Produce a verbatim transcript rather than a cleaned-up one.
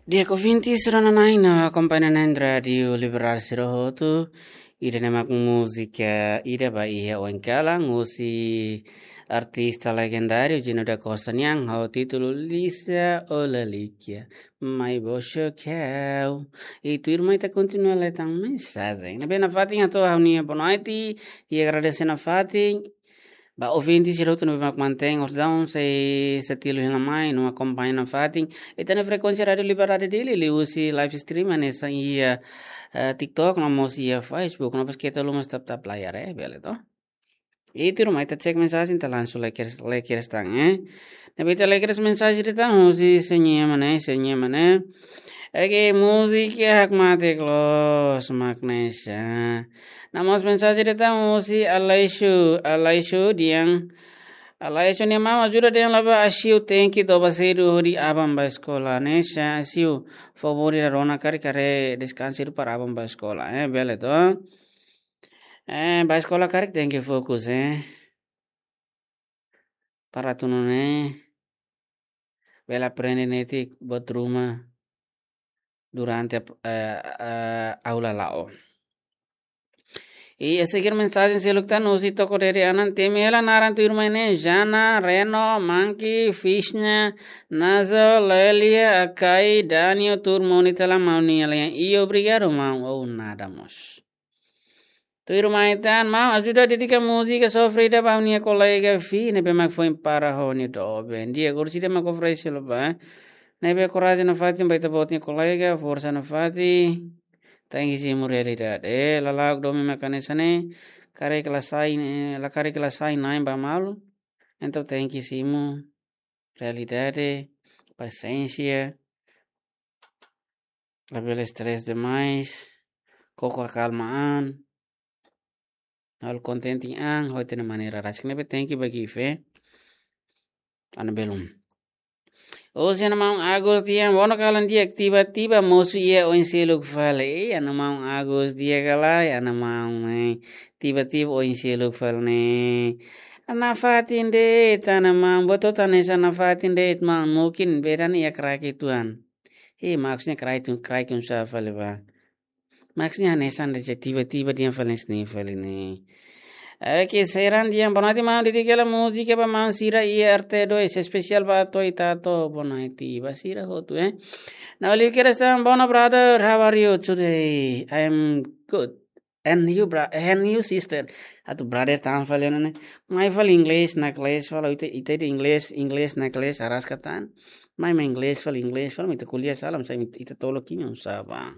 Di'ak ouvinte sira-na'in no akompaña na'in Rádiu Liberdade sira hotu, ida-ne'e mak múzika ida ba iha oin kalan husi artista legendáriu Gino da Costa nian ho títulu Lisa Olalikia, Mai Boxo Kau. I tuirmai ita kontinua lee tan mensajen. Ne'ebé nafatin hato'o ha'u-nia boa noite, i agradese nafatin ba ouvinte sira hotu ne'ebé mak mantein orasaun sei setilu hela mai no akompaña nafatin ita-nia frekuénsia Rádiu Liberdade Dili liuhusi live stream hanesan iha, eh, TikTok no mós iha Facebook, no pas keta haluha mós tap-tap layar, eh, bele to. I tuirmai ita cek mensajen, ita langsung lee kedas, lee kedas tan, eh. Ne'ebé ita lee kedas mensajen ida tan husi Señor Mané, Señor Mané. Oke, múzika hakmatek loos mak hanesan. No mós mensajen ida tan husi Aleixo, Aleixo dehan, Aleixo nia maun ajuda dehan la'o ba Asiu, tenke toba sedu hodi aban ba eskola hanesan. Asiu, favór ida rona karik haree deskansa sedu para aban ba eskola, eh, bele to. Eh, ba eskola karik tenke fokus, eh. Para atu nune'e bele aprende netik buat ruma durante, eh, eh, aula la'o. I a seguir mensajen seluk tan husi Toko Dede Anan, temi hela naran tuirmai ne'e, Jana, Reno, Manki, Fishnya, Nazo, Lelia, Akai, Daniel, tuur moni tela maun nia lian. I obrigadu maun, ou nada mós. Tuirmai tan, maun ajuda dedika múzika sofrida ba ha'u-nia kolega Fi, ne'ebé mak foin para ho nia doben. Di'ak, orsida mak oferese la'o ba. Ne'ebé korajen nafatin ba ita-boot nia kolega, forsa nafatin. Tenke simu realidade. Eh, lala'ok domin mak hanesan ne'e, karik la sai, eh, la karik la sai na'in ba malu. Entaun tenke simu realidade, pasiénsia, labele stress demais, koko akalma an, halo kontente an ho ita-nia maneira rasik ne'ebé tenke ba Gife, ana belum. Husi ana maun Agus dehan, bono kalan di'ak, tiba-tiba mosu iha oin seluk fali. Eh, ana maun Agus di'ak ka lae, ana maun, eh, tiba-tiba oin seluk fali ne'e. Nafatin de'it, ana maun, buat hotu hanesan nafatin de'it maun, mungkin beda nia iha kraik uitoan. Eh, maksudnya kraik uitoan, kraik uitoan sá fali ba. Maksudnya hanesan de'it, tiba-tiba dehan fali hanesan ne'e fali ne'e. Oke, Seran dehan, boa noite maun, dedika hela múzika ba maun sira iha R T dois, espesiál ba Toy Tato, boa noite ba sira hotu, eh. Now, Liu Keres dehan, boa noite brother, how are you today? I am good. And you, bra-, and you, sister? Atu brother tan fali ne'e. Mai fali English na class fali, ita, ita dehan English, English na class araska tan. Mai, mai English fali, English fali, ita kuliah sala, sá ita tolok kiño sá ba.